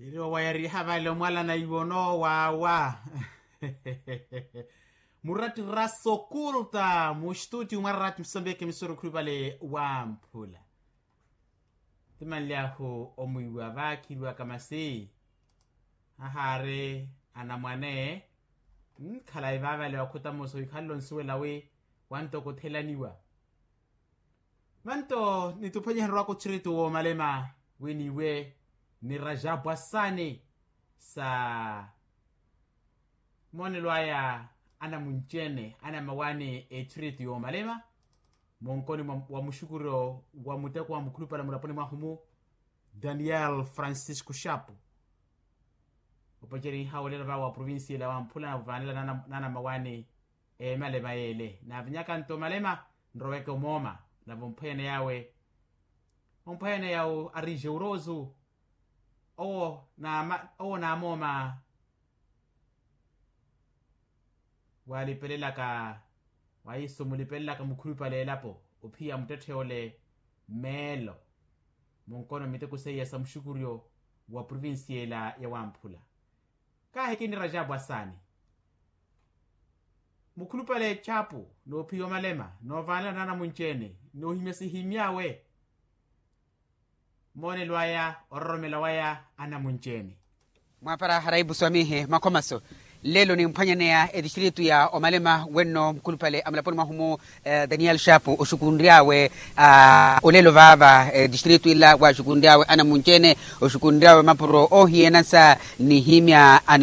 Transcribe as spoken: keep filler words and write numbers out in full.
Eri owayariha vale omwalana iwono wawa. Muratti rasokulta mustuti mwararati musambeke misoro khulupale wamphula. Timanlyahu omwiiwa vakhiriwaka masi ahaari anamwane. Nkhalayi vaavale wakhutamosa wikhalelo nsuwela wi wantoko othelaniwa. Manto nituphwanyihererwaka otthiritu woomalema wi niiwe ni rajapwasani sa moonelo aya anamunci-ene anamawaani etthiritu yoomalema. Munkoni wa muxukuryo wa muteko wa mukhulupale mulaponi mwahu-mu, daniel francisco xapu opoceriha olelo vawe wa provincia ila wamphula na ovaanela nanamawaani emalema yeele naavinyaka nto malema nroweke omooma. Nave omphwanyana yawe omphwanyana yawe arije urozu owo naamooma walipelelaka waiso mulipelelaka mukhulupale elapo ophiya muttetthe ole meelo munkono miteko seiya sa muxukuryo wa provincia ela ya wamphula. Kaahikini rajabu asaani mukhulupale chapu noophiya omalema noovaanela naanamunci-ene noohimya sihimy'awe moonelo aya ororomela waya anamunci-ene. Mwaapara haraipu swamihi makhomaso lelo nimphwanyaneya etistritu ya omalema wenno mukhulupale amulaponi mwahu-mu daniel xapu oxukunry'awe olelo vaava etistritu ila waxukunry'awe anamunci-ene oxukunry'awe mapuro oohiyanasa nihimya